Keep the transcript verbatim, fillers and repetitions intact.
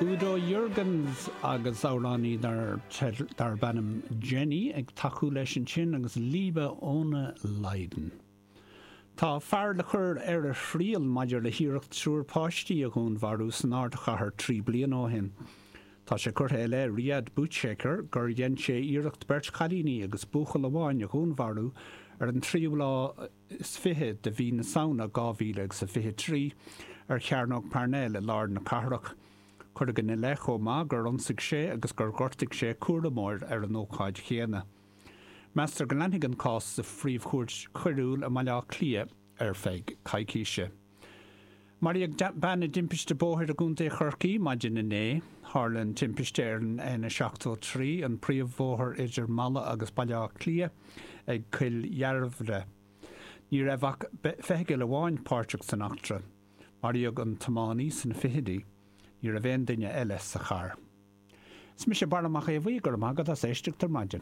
Udo Jürgens agus amhránaí darb ainm Jenny ag tacú leis ansin agus Liebe ohne Leiden. Tá fear le cur ar a thriail maidir le hiarracht triúr páistí a dhúnmharú san ardchathair trí bliana ó shin. Tá sé curtha i leith Riyad Bouchaker gur dhein sé iarracht beirt chailíní agus buachaill amháin a dhúnmharú ar an tríú lá is fiche de mhí na Samhna dhá mhíle agus a fiche trí ar Chearnóg Parnell i lár na cathrach. Cuireadh ina leith chomh maith gur ionsaigh sé agus gur ghortaigh sé cúramóir ar an ócáid chéanna. Meastar go leanfaidh an cás sa Phríomh-Chúirt Choiriúil i mBaile Átha Cliath ar feadh coicíse. Maraíodh bean i dtimpiste bóthair i gContae Chorcaí maidin inné. Tharla an timpiste ar an N seachtó trí, an príomhbhóthar idir Mala agus Baile Átha Cliath, ag Cill Dairbhre. Ní raibh ach feithicil amháin páirteach san eachtra. Maraíodh an tiománaí sna fichidí. Ní raibh aon duine eile sa charr. Is mise Barra Mac Aodha Bhuí, go raibh maith agat as éisteacht ar maidin.